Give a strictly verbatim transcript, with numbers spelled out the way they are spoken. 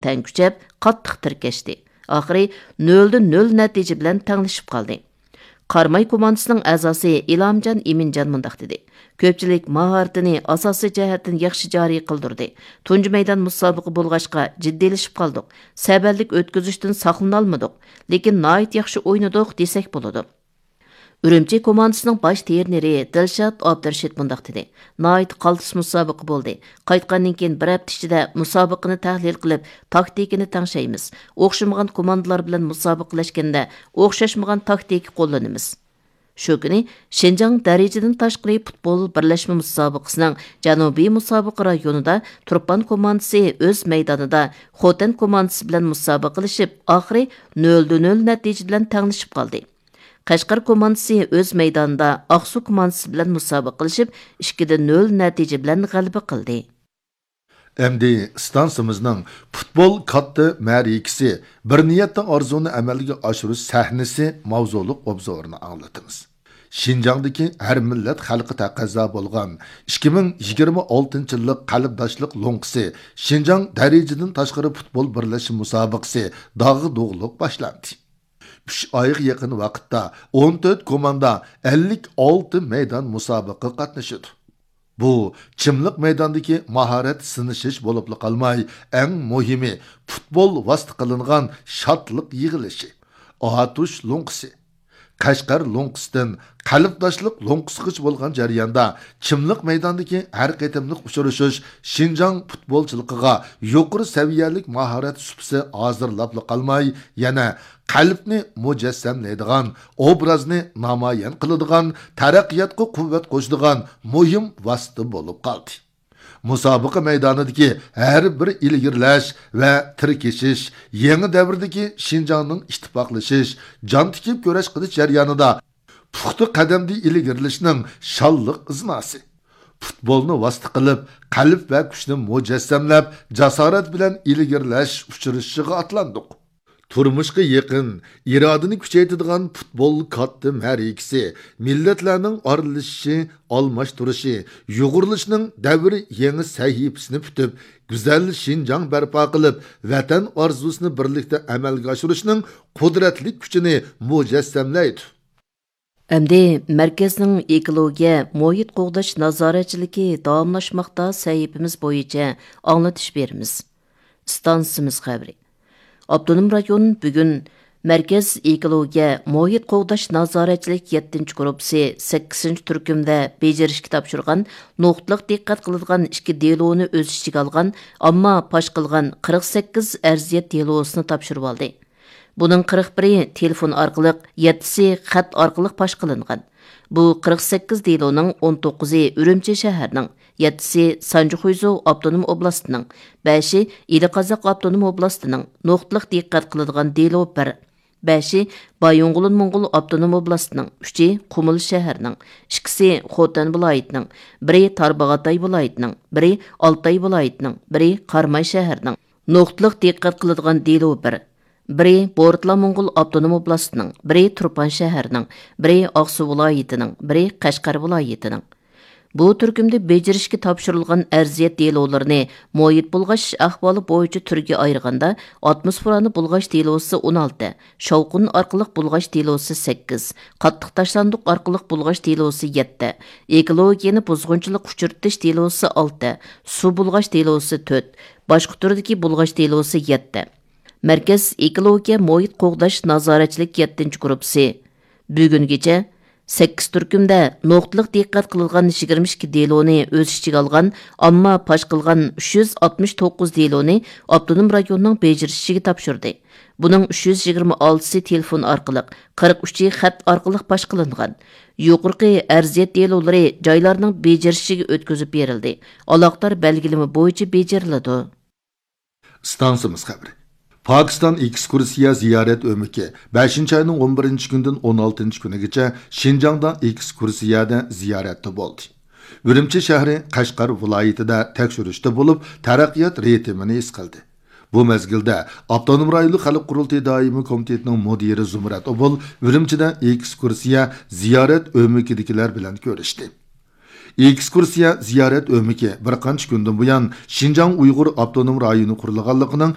تەڭ كۈچەپ، قاتتىق تىركەشتى. ئاخىرى نۆلدە نۆل نەتىجە بىلەن تەڭلىشىپ قالدى. قاراماي كوماندىسىنىڭ ئەزاسى ئىلھامجان ئىمىنجان مۇنداق دېدى: كۆپچىلىك ماھارىتىنى ئاساسىي جەھەتتىن ياخشى جارى قىلدۇردى. تۇنجى مەيدان مۇسابىقە بولغاچقا جىددىيلىشىپ قالدۇق. سەۋەنلىك ئۆتكۈزۈشتىن ساقلىنالمىدۇق. لېكىن ناھايىتى ياخشى ئوينىدۇق دېسەك بولىدۇ. ئۈرۈمچى كوماندىسىنىڭ باش ترېنېرى دىلشات ئابدۇرېشىت مۇنداق دېدى: ناھايىتى قالتىس مۇسابىقە بولدى. قايتقاندىن كېيىن بىر ھەپتە ئىچىدە مۇسابىقىنى تەھلىل قىلىپ، تاكتىكىنى تەڭشەيمىز. ئوخشىمىغان كوماندىلار بىلەن مۇسابىقىلەشكەندە ئوخشاشمىغان تاكتىكا قوللىنىمىز. شۇ كۈنى شىنجاڭ دەرىجىدىن تاشقىرى پۇتبول بىرلەشمە مۇسابىقىسىنىڭ جەنۇبىي مۇسابىقە رايونىدا تۇرپان كوماندىسى ئۆز مەيدانىدا خوتەن كوماندىسى بىلەن مۇسابىقىلىشىپ، ئاخىرى نۆلدە نۆل نەتىجە بىلەن تەڭلىشىپ قالدى. قەشقەر كوماندىسى ئۆز مەيدانىدا ئاقسۇ كوماندىسى بىلەن مۇسابىقىلىشىپ، ئىككىدە نۆل نەتىجە بىلەن غەلىبە قىلدى. ئەمدى ئىستانسىمىزنىڭ پۇتبول كاتتا مەرىكىسى، بىر نىيەتتە ئارزۇنى ئەمەلگە ئاشۇرۇش سەھنىسى ماۋزۇلۇق ئوبزورىنى ئاڭلىتىمىز. شىنجاڭدىكى ھەر مىللەت خەلقى تەقەززا بولغان ئىككى مىڭ يىگىرمە ئالتىنچى يىللىق قەلبداشلىق لوڭقىسى شىنجاڭ دەرىجىدىن تاشقىرى پۇتبول بىرلەشمە مۇسابىقىسى داغدۇغىلىق باشلاندى. ئۈچ ئايغا يېقىن ۋاقىتتا ئون تۆت كوماندا ئەللىك ئالتە مەيدان مۇسابىقىگە قاتنىشىدۇ. بۇ چىملىق مەيداندىكى ماھارەت سىنىشىش بولۇپلا قالماي، ئەڭ مۇھىمى پۇتبول ۋاسىتە قىلىنغان شادلىق يىغىلىشى، ئاتۇش لوڭقىسى. قەشقەر لوڭقىسىدىن قەلبداشلىق لوڭقىسىغىچە بولغان جەرياندا چىملىق مەيداندىكى ھەر قېتىملىق ئۇچرىشىش شىنجاڭ پۇتبولچىلىقىغا يۇقىرى سەۋىيەلىك ماھارەت سۇپىسى ھازىرلاپلا قالماي، يەنە قەلبنى مۇجەسسەملەيدىغان، ئوبرازنى نامايان قىلىدىغان، تەرەققىياتقا قۇۋۋەت قوشىدىغان مۇھىم ۋاسىتە بولۇپ قالدى. مۇسابىقە مەيدانىدىكى ھەر بىر ئىلگىرىلەش ۋە تىركىشىش يېڭى دەۋردىكى شىنجاڭنىڭ ئىتتىپاقلىشىش، جان تىكىپ كۈرەش قىلىش جەريانىدا پۇختا قەدەمدە ئىلگىرىلىشنىڭ شانلىق ئىزناسى. پۇتبولنى ۋاسىتە قىلىپ، قەلب ۋە كۈچنى مۇجەسسەملەپ، جاسارەت بىلەن ئىلگىرىلەش ئۇچرىشىشىغا ئاتلاندۇق. تۇرمۇشقا يېقىن، ئىرادىنى كۈچەيتىدىغان پۇتبول كاتتا مەرىكىسى مىللەتلەرنىڭ ئارىلىشىشى، ئالماشتۇرۇشى، يۇغۇرۇلۇشىنىڭ دەۋر يېڭى سەھىپىسىنى پۈتۈپ، گۈزەل شىنجاڭ بەرپا قىلىپ، ۋەتەن ئارزۇسىنى بىرلىكتە ئەمەلگە ئاشۇرۇشنىڭ قۇدرەتلىك كۈچىنى مۇجەسسەملەيدۇ. ئەمدى مەركەزنىڭ ئېكولوگىيە، مۇھىت قوغداش نازارەتچىلىكى داۋاملاشماقتا سەھىپىمىز بويىچە ئاڭلىتىش بېرىمىز. ئىستانسىمىز خەۋىرى. ئاپتونوم رايون بۈگۈن مەركەز ئېكولوگىيە، مۇھىت قوغداش نازارەتچىلىك يەتتىنچى گۇرۇپپىسى سەككىزىنچى تۈركۈمدە بېجىرىشكە تاپشۇرغان نۇقتىلىق دىققەت قىلىدىغان ئىككى دېلونى ئۆز ئىچىگە ئالغان، ئامما پاش قىلغان قىرىق سەككىز ئەرزىيەت دېلوسىنى تاپشۇرۇۋالدى. بۇنىڭ قىرىق بىرى تېلېفون ئارقىلىق، يەتتىسى خەت ئارقىلىق پاش قىلىنغان. بۇ قىرىق سەككىز دېلونىڭ ئون توققۇزى ئۈرۈمچى شەھەرنىڭ، يەتتىسى سانجى خۇيزۇ ئاپتونوم ئوبلاستىنىڭ، بەشى ئىلى قازاق ئاپتونوم ئوبلاستىنىڭ. نۇقتىلىق دىققەت قىلىدىغان دېلو بىر، بەشى بايىنغولىن موڭغۇل ئاپتونوم ئوبلاستىنىڭ، ئۈچى قۇمۇل شەھەرنىڭ، ئىككىسى خوتەن ۋىلايىتىنىڭ، بىرى تارباغاتاي ۋىلايىتىنىڭ، بىرى ئالتاي ۋىلايىتىنىڭ، بىرى قاراماي شەھەرنىڭ. نۇقتىلىق دىققەت قىلىدىغان دېلو بىر، بىرى بورتلا موڭغۇل ئاپتونوم ئوبلاستىنىڭ، بىرى تۇرپان شەھەرنىڭ، بىرى ئاقسۇ ۋىلايىتىنىڭ، بىرى قەشقەر ۋىلايىتىنىڭ. بۇ تۈركۈمدە بېجىرىشكە تاپشۇرۇلغان ئەرزىيەت دېلولىرىنى مۇھىت بۇلغاش ئەھۋالى بويىچە تۈرگە ئايرىغاندا، ئاتموسفېرانى بۇلغاش دېلوسى ئون ئالتە، شاۋقۇن ئارقىلىق بۇلغاش دېلوسى سەككىز، قاتتىق تاشلاندۇق ئارقىلىق بۇلغاش دېلوسى يەتتە، ئېكولوگىيەنى بۇزغۇنچىلىققا ئۇچرىتىش دېلوسى ئالتە، سۇ بۇلغاش دېلوسى تۆت، باشقا تۈردىكى بۇلغاش دېلوسى يەتتە. مەركەز ئېكولوگىيە مۇھىت قوغداش نازارەتچىلىك يەتتىنچى گۇرۇپپىسى بۈگۈنگىچە سەككىز تۈركۈمدە نۇقتىلىق دىققەت قىلىدىغان يىگىرمە ئىككى دېلونى ئۆز ئىچىگە ئالغان، ئامما پاش قىلغان ئۈچ يۈز ئاتمىش توققۇز دېلونى ئاپتونوم رايوننىڭ بېجىرىشىگە تاپشۇردى. بۇنىڭ ئۈچ يۈز يىگىرمە ئالتىسى تېلېفون ئارقىلىق، قىرىق ئۈچى خەت ئارقىلىق پاش قىلىنغان. يۇقىرىقى ئەرزىيەت دېلولىرى جايلارنىڭ بېجىرىشىگە ئۆتكۈزۈپ بېرىلدى، ئالاقىدار بەلگىلىمە بويىچە بېجىرىلىدۇ. ئىستانسىمىز خەۋىرى. پاكىستان ئېكسكۇرسىيە زىيارەت ئۆمىكى بەشىنچى ئاينىڭ ئون بىرىنچى كۈنىدىن ئون ئالتىنچى كۈنىگىچە شىنجاڭدا ئېكسكۇرسىيەدە زىيارەتتە بولدى. ئۈرۈمچى شەھىرى، قەشقەر ۋىلايىتىدە تەكشۈرۈشتە بولۇپ، تەرەققىيات رىتىمىنى ھېس قىلدى. بۇ مەزگىلدە ئاپتونوم رايونلۇق خەلق قۇرۇلتىيى دائىمىي كومىتېتىنىڭ مۇدىرى زۇمرەت ئوبۇل ئۈرۈمچىدە ئېكسكۇرسىيە زىيارەت ئۆمىكىدىكىلەر بىلەن كۆرۈشتى. ئېكسكۇرسىيە زىيارەت ئۆمىكى بىر قانچە كۈندىن بۇيان شىنجاڭ ئۇيغۇر ئاپتونوم رايونى قۇرۇلغانلىقىنىڭ